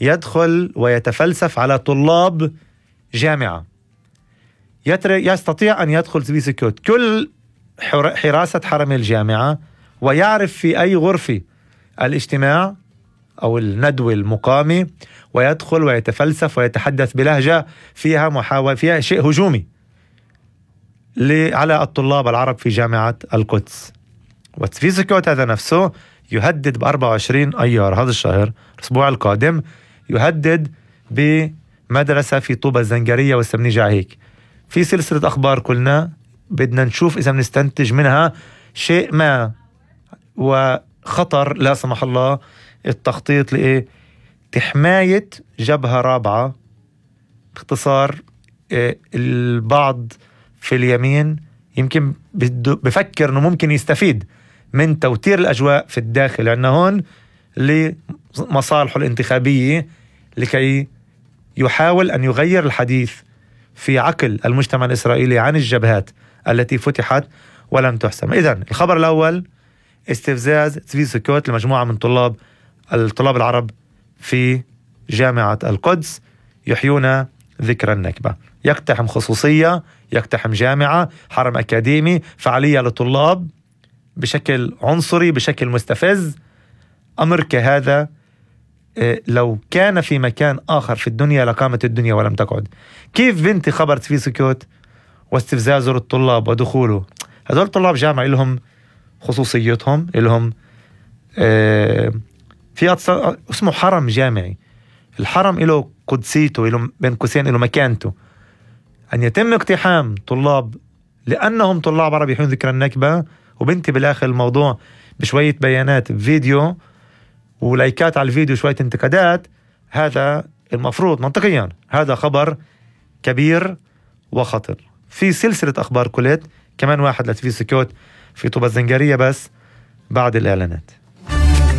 يدخل ويتفلسف على طلاب جامعة. يستطيع أن يدخل تبي سكوت كل حراسة حرم الجامعة ويعرف في أي غرفة الاجتماع أو الندوة المقامة، ويدخل ويتفلسف ويتحدث بلهجة فيها شيء هجومي على الطلاب العرب في جامعة القدس. وتبي سكوت هذا نفسه يهدد ب24 أيار هذا الشهر الأسبوع القادم، يهدد بمدرسة في طوبة الزنجرية والسمنيجة. هيك في سلسلة أخبار كلنا بدنا نشوف إذا بنستنتج منها شيء ما، وخطر لا سمح الله التخطيط لحماية جبهة رابعة. باختصار البعض في اليمين يمكن بفكر أنه ممكن يستفيد من توتير الأجواء في الداخل عندنا هون لمصالحه الانتخابية، لكي يحاول أن يغير الحديث في عقل المجتمع الإسرائيلي عن الجبهات التي فتحت ولم تحسم. إذن الخبر الأول: استفزاز تبي سكوت لمجموعة من الطلاب العرب في جامعة القدس يحيون ذكرى النكبة. يقتحم خصوصية، يقتحم جامعة، حرم أكاديمي، فعالية لطلاب بشكل عنصري، بشكل مستفز. أمر كهذا لو كان في مكان آخر في الدنيا لقامت الدنيا ولم تقعد. كيف بنتي خبر تبي سكوت واستفزازه للطلاب ودخوله؟ هذول طلاب جامعة لهم خصوصيتهم، لهم في اسمه حرم جامعي. الحرم له قدسيته، له بين قوسين له مكانته. أن يتم اقتحام طلاب لأنهم طلاب عرب يحيون ذكرى النكبة، وبنتي بالآخر الموضوع بشوية بيانات بفيديو ولايكات على الفيديو شوية انتقادات، هذا المفروض منطقيا هذا خبر كبير وخطر. في سلسلة أخبار كلت كمان واحد لتفي سكوت في طوبة الزنجرية بس بعد الإعلانات.